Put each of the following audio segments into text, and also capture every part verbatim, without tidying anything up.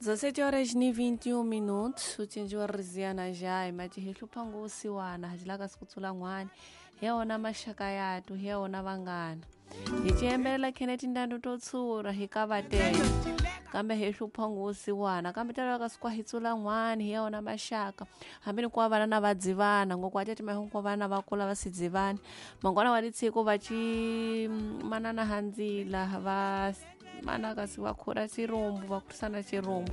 dezessete horas e vinte e um minutos, o cinjiwa riziana jai, mas hihlupha ngusiwana, hajilaka sikutsula ngwani, heona mashaka yatu, heona vangana. Hichembela Kenneth Ndando totsura hikavatela. Kambe hihlupha ngusiwana, kambe talaka sikwa hitsula ngwani, heona mashaka. Hambini kwa vana na vadzivana, ngokwatete mahungu kwa vana vakula vasidzivana. Mangwana walitsiko vachi manana hanzila va mana kasi vakhura chirumbu vakurisana chirumbu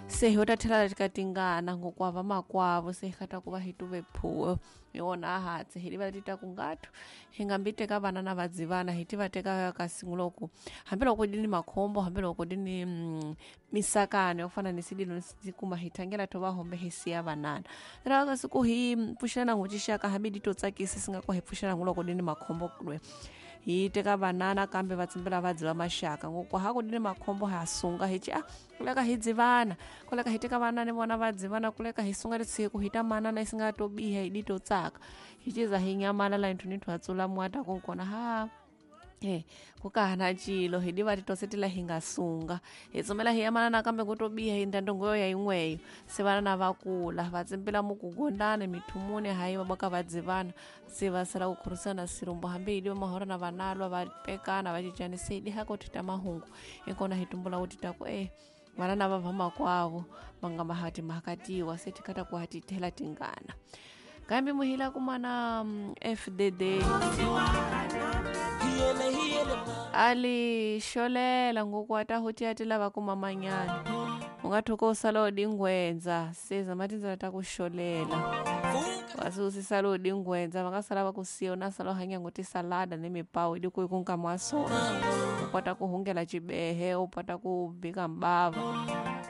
se hi tathela tikatingana ngokwava makwavo se hi kata ku va hi tuve phuwo hi wona hatsi hi liva tita ku ngatu hi nga mbi teka vana na vadzivana hi ti va teka kasi nguloko hambiloko di ni makhombo hambiloko di ni mm, misakano yo fana ni sidilo kuma hi thangela to va hombe hi siya vanana ra kasi ku hi pfuxelana nguxixaka hambi di to tsakisa singa ku hi pfuxelana nguloko di ni makhombo kulwe hi teka vanana kambe va tsimbela va dziva maxaka ngoko ha ku di ni makhombo ha sunga hi ci a kuleka hi dzivana kuleka hi teka vanana ni vona va dzivana kuleka hi sunga litsiko hi ta manana yi singa to biha hi di to tsaka hi ciza hi nyamala la nthu ni nthu atsula mwata konkona ha Eh, kukahana cilo hi diva titosetela hi nga sunga hi tsumela hi yamanana kambe ku to biha hi ndandongo ya yin'weyo se vana na vakula va tsimbela mukugondana mithumuni hayi va boka va dzivana se va sala ku khurisana sirumbu hambi hi diva mahora na vanalwa va pekana va cincana se hi diha ko thita mahungu inkona hi tumbula ku tita ku eh vana na va va makwavo va nga mahati mahakatiwa se tikata ku hatithela tingana kambe muhila kumana mm, F D D ali xolela ngoku ata lava kuma manyana u nga thuka u sala u dingwenza se zama tindlela ta ku xolela wasi u si sala u dingwenza va nga sala va ku siya u na sala u hanya ngo tisalada ni mipawu idi ku ku nkama wa swona u kota ku hungela cibehe u kota ku bika mbava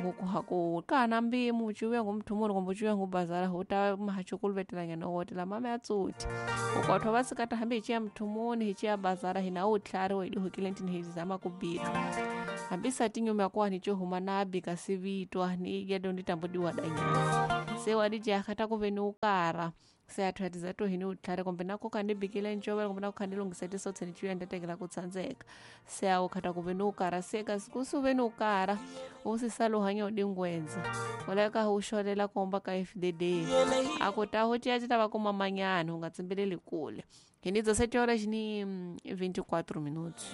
ngoku ha ku kana mbimu ciwe ngumthumuni kumbe ciwe ngubazara u ta mahachukulvetelanyana wotela mama ya tsuti ukwatho va sikata hambi hi ciya mthumuni hi ciya bazara hina u tlhari wa hi dihukile ntini hi zama ku bika hambi sati nyuma kwa ni huma na bika sivitwa ni gedo ndi tambudiwa danyana se wa di jaha ku ve ni ukara se a thwatiza to hini u tlhari kumbe na ku kha ni bikile ncovela kumbe na ku kha ni lunghisa tisotse ni ciya ndatekela ku tsandzeka se a u khata ku ve ni ukara se kasi ku su ve ni ukara u si sala u hanya u dingwenza uleka u xolela komba ka F D D a ku ta ho ciya ci ta va kuma manyana u nga tsimbeleli kule hi ni dezessete horas ni vinte e quatro minutos.